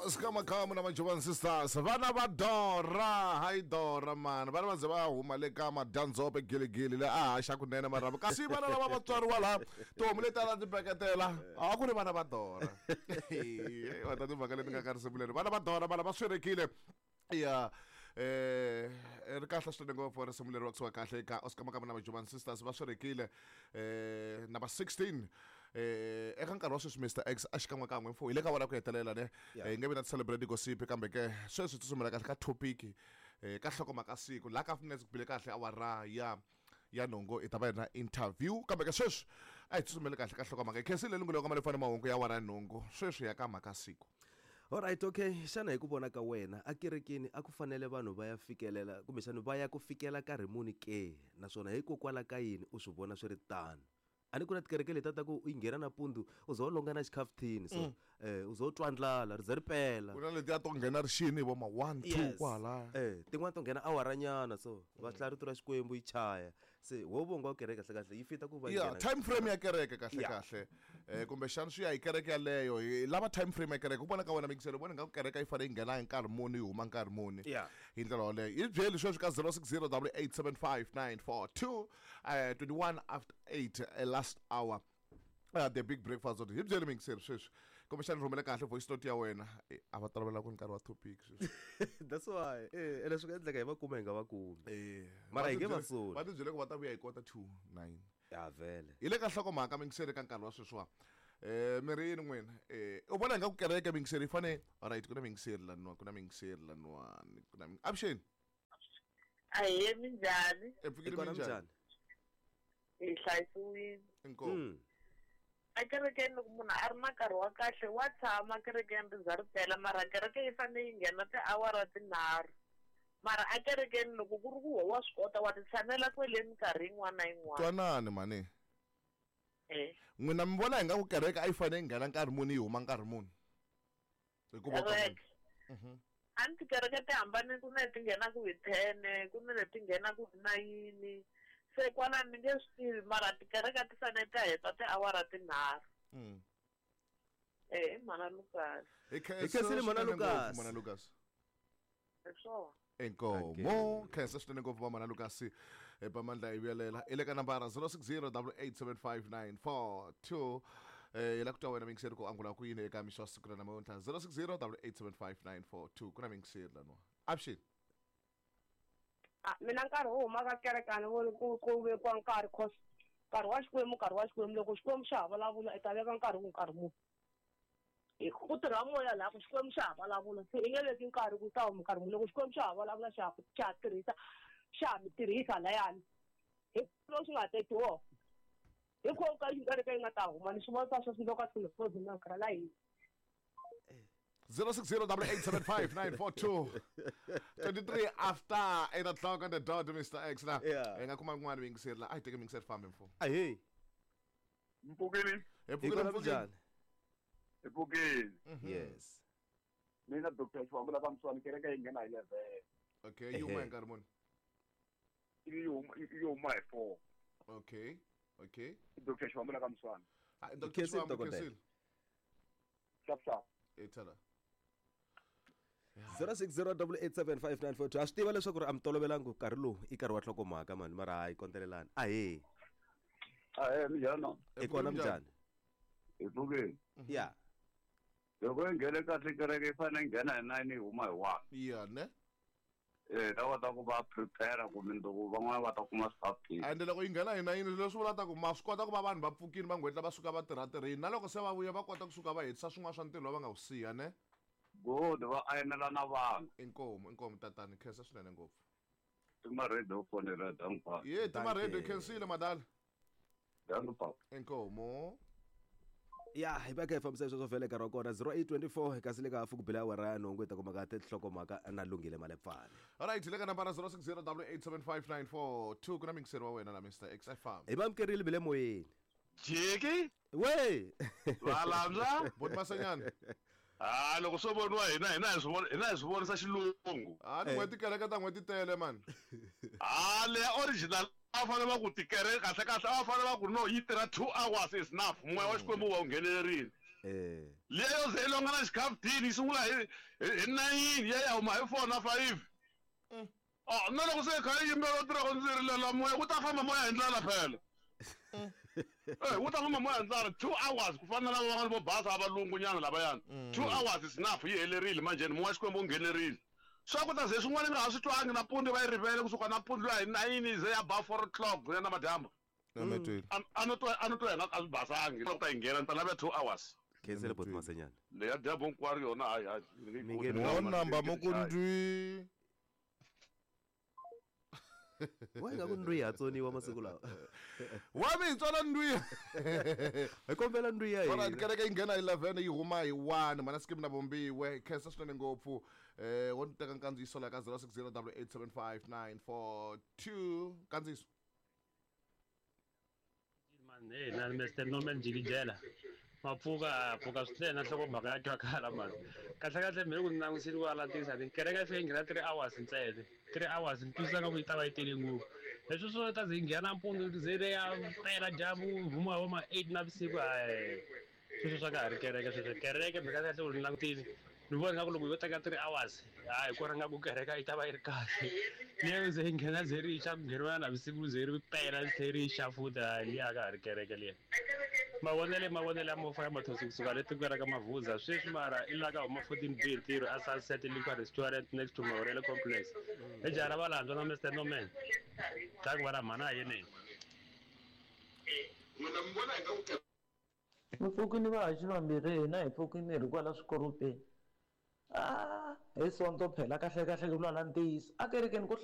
Oscar Makamu na Majovan Sisters vana va Dora hayi Dora mani vana va ze va huma le ka madyandzhope giligili le a haxa kunene marhambu kasi vana lava va tswariwa laha tihomu leti a ta ti peketela a ku ri vana va Dora va ta timhaka leti nga ka risimu leri vana va Dora vana va swirekile ya ri kahle swinene ngopfu risimu leri vakusuka kahle eka Oscar Makamu na Majovan Sisters va swirekile number 16 eka nkarhi wa sweswi Mr X a xikan'wekan'we mfo hi le ka wona ku hetelela ne. Hi nge vi na ti-celebrate gossip kambe ke sweswi tsutsumela kahle ka topic ka nhlokomhaka siku laha ka minutes ku bile kahle awara ya nhungu hi ta va hi ri na interview kambe ke sweswi a hi tsutsumeli kahle ka nhlokomhaka hi khensile lungelo ka malefane mahungu ya awara ya nhungu sweswi ya ka mhaka siku. Alright, okay. Xana hi ku vona ka wena ekerekeni a ku fanele vanhu va ya fikelela kumbexana va ya ku fikela nkarhi muni ke? Naswona hikokwalaho ka yini u swi vona swi ri tano? A ni ku na tikereke letiya ta ku u yi nghena nampundzu u ze u longa na xikhafuthini so u ze u twa ndlala ri ze ri pela. Ku na letiya to nghena ri xini hi vo ma 1 2 kwalaya. Tin'wana to nghena awara nyana so va hlaya rito ra Xikwembu yi chaya. Se wo vonga kereke kahle kahle yi fita ku va ya time frame ya kereke kahle kahle kumbexana swi ya hi kereke yaleyo hi lava time frame ya kereke ku vona ka wena mingiselo vona nga ku kereke yi fanele yi nghena hi nkarhi muni yi huma nkarhi muni hi ndlela yoleyo yi byeli sweswi ka 060 875 21 after 8 last hour. The big breakfast hi byeli mingiseri sweswi kumbexana rhumele kahle voice note ya wena a va tolovela ku nkarhi wa topic sweswi. That's why ene swi nga endleka hi va kuma hi nga va kumi mara hi nge va soli va ti byele ku va ta vuya hi kota 2 9 ya vhele hi le ka nhlokomhaka mingiseri ka nkarhi wa sweswiwa mi ri yini n'wina u vona nga ku kereke mingiseri yi fane alright ku na mingiseri laniwa ku na mingiseri laniwani ku na avuxeni. Ahee minjhani? Epfukile minjhani? Hi hlayisiwile. Inkomu. Ekerekeni loko munhu a ri na nkarhi wa kahle wa tshama kerekeni ri za ri pela mara kereke yi fanele yi nghena tiawara tinharhu mara ekerekeni loko ku ri ku wa swi kota wa ti tshamela kwele minkarhi yin'wana na yin'wana. Twanani mhani. N'wina mi vona hi nga ku kereke a yi fanele yi nghena nkarhi muni yi huma nkarhi muni? Hikuva Kereke. A ni tikereke ti hambanile ku na leti nghenaka hi 10 ku na leti nghenaka hi 9 se kwalano ni nge swi tivi mara tikereke ti fanele ti heta tiawara tinharhu. I mhana Lucas. Hi khensile mhana Lucas. Mhana Lucas. Hi swona. Inkomo khensa swinene ngopfu va mhana Lucas epamandla hi vuyelela i le ka nambara 060 8875942 hi la ku twa wena mingiseri ku angula ku yini eka mixo wa siku ra namuntlha 060 8875942 ku na mingiseri laniwa avuxeni. Mina nkarhi wo huma ka kereke a ni voni ku ku vekiwa nkarhi cause nkarhi wa Xikwembu nkarhi wa Xikwembu loko Xikwembu xa ha vulavula i ta veka nkarhi ku nkarhi muni ku tirha moya laha ku Xikwembu xa ha vulavula se i nge veki nkarhi ku ta huma nkarhi muni loko Xikwembu xa ha vulavula xa xa ha tirhisa xa ha mi tirhisa layani hi loko xi nga teki wona hi kho ka kereke yi nga ta huma ni swi vona sweswi loko a tlhelo na nkarhi la hina. 060 8875942 23 after 8 o'clock on the dot Mr X la hi nga kuma kun'wana mingiseri la a hi teke mingiseri fambe mfo. Ahee. Mpfukeni. Hi pfukile njhani? Hi pfukile. Yes. Mina Dr. Xivambu la ka kereke yi nghena hi 11. Okay, yi huma hi nkarhi muni? Yi huma hi 4. Okay. Okay. Dr. Xivambu la ka Mswani. Dr. Xivambu khensile. Sharp sharp. Ethala. 060 8875942 a swi tiva leswaku ri a mi tolovelangi nkarhi lowu i nkarhi wa nhlokomhaka mani mara hayi kondelelani ahee. Ahee minjhani? I kona minjhani? Hi pfukile. Ya. Loko yi nghene kahle kereke yi fanele yi nghena hi 9 yi huma hi 1. Ya ne? Ta kota ku va prepare ku mundzuku van'wana va ta kuma swikhafuthini. Ende loko yi nghena hi 9 leswi vula ta ku ma swi kota ku va vanhu va pfukile va nghwetla va suka va tirha tirhini na loko se va vuya va kota kusuka va hetisa swin'wana swa ntirho va nga wu siya ne? Good va ayinela na vanhu. Inkomu inkomu tatani khensa swinene ngopfu. Tima radio fonela dangu papa. Ye tima radio khensile madala. Dangu papa. Inkomu. Ya hi va kha hi fambisa sweswo vhele nkarhi wa kona 0824 kasi le ka hafu ku bela awara ya nhungu hi ta kuma ka tinhlokomhaka na Lunghile Malepfane. Alright le ka nambara 060 8875942 ku na mingiseri wa wena la Mr X FM. Hi va amukerile bile moyeni. Jiki we valandza Boti Masenyana. Loko swo voniwa hina hina hi swi vona hina hi swi vonisa xilungu. Tin'hweti kereke ta n'hweti tele mani. Leya original a fanele va ku tikereke kahle kahle a fanele va ku no yi tirha 2 hours is enough moya wa Xikwembu wa wu nghenelerile. Liya yo ze yi longa na xikhaftini yi sungula hi 9 ya ya huma hi 4 na 5. Oh, na loko se kha yi yimbela tirhako ndzi rilela moya wu ta famba moya hi ndlela phela. Wu ta famba moya hi ndlela 2 hours ku fana na lava van'wana vo basa a valungu nyana lavayani. 2 hours is enough yi helerile manjheni moya Xikwembu wu nghenerile. Swa ku ta ze swin'wana nga ha swi twangi nampundzu va yi rivele kusuka nampundzu ya hi 9 ze ya ba 4 o'clock ya namadyambu. A no twa a no twa yena a swi basangi loko ta yi nghena ni ta lava 2 hours. Khensele boti Masenyana. Leya dyambu hinkwaro yona hayi hayi. Mi nge Mo namba mo ku ndwi. Wa ingaku ndwi ya tsoniwa masiku lawa. Wa mi hi tsona ndwi. Hi kombela ndwi ya Alright, hina. kereke yi nghena hi 11 yi huma hi 1 mana skim na vumbiwe khensa swinene ngopfu wo ni teka nkandziyiso la ka 06087594 nkandziyiso. Man, hey, na Mr. Norman Jikijela. Mapfuka pfuka swinene na nhlokomhaka ya twakala mani. Kahle kahle mina ku ni langutisile ku alatisa ni kereke yi fike yi nghena 3 hours ntsena. 3 hours ni twisisa nga ku yi ta va yi tele ngopfu. Leswi swo ta ze yi nghena nampundzu ze ri ya pela dyambu huma hi vo ma 8 navusiku hayi. Sweswo swa ka ha ri kereke sweswo. Kereke mhaka kahle ku ni langutile ni vona nga ku loko yo teka 3 hours hayi kona nga ku kereke yi ta va yi ri kahle. Liya ze yi nghena ze ri xa ku ngheniwa navusiku ze ri pela ri tlhe ri xa futhi hayi liya a ka ha ri kereke liya. Mavonele ya mofa ya mathosi kusuka le tikweni ra ka Mavuza sweswi mara i la ka huma 14 B ntirho a Sunset Liquor Restaurant next to Maurele Complex. Hi jaha ra Valandzwa na Mr Norman. Ta ku va na mhana yeneni. Mi pfukini vahaxi vambirhi hina hi pfukini hi ri kwala swikoropeni. Hi Sonto phela kahle kahle ku lwala ntiyiso. A kerekeni ko